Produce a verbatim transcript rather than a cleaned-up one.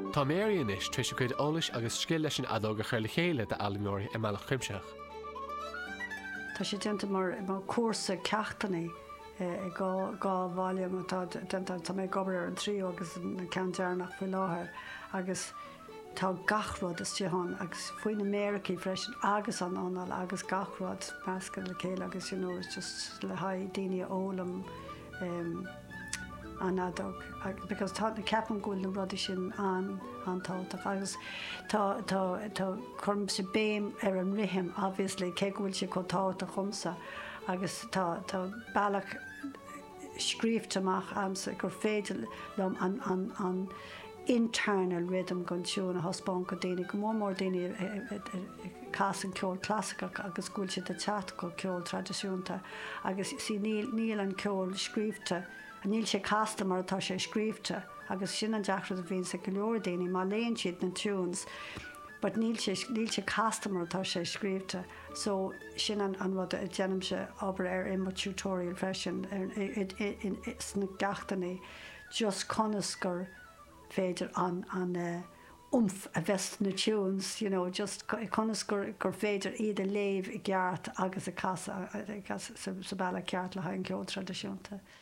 Tá Mary anois tar éis a cuid eolais agus scil leis an fheadóg a chur le chéile d'fhoghlaimeoirí i mbealach cuimsitheach. Tá sé déanta mar mar cúrsa ceachtanna i dhá dhá volume atá déanta tá mé ag obair ar an tríú agus an ceann deireanach faoi láthair agus tá gach rud istigh ann agus faoi na méaracha freisin agus an anáil agus gach rud measctha le chéile agus you know, it's just le haghaidh daoine a fhoghlaim um, an fheadóg because tá ceapaim go bhfuil na rudaí sin an an-tábhachtach agus tá tá tá cuirimse béim ar an rithim obviously cé go bhfuil sé chomh tábhachtach domsa agus tá tá bealach scríobhta amach agamsa gur féidir liom an an an internal rhythm gon tune a thaispeáint go daoine go mór mór daoine casann ceol clasaiceach agus go bhfuil siad ag teacht go ceol traidisiúnta agus sí níl níl an ceol scríobhta níl sé casta mar atá sé scríobhta agus sin an deacracht a bhíonn ag go leor daoine má léann siad na tunes but níl sé níl sé casta mar atá sé scríobhta so sin an an rud a déanaimse obair ar i mo tutorial freisin sna ceachtanna just conas gur féidir an an uh, oomph a bheith na tunes you know just conas gur gur féidir iad a léamh i gceart agus a casadh sa bealach ceart le haghaidh an ceol traidisiúnta.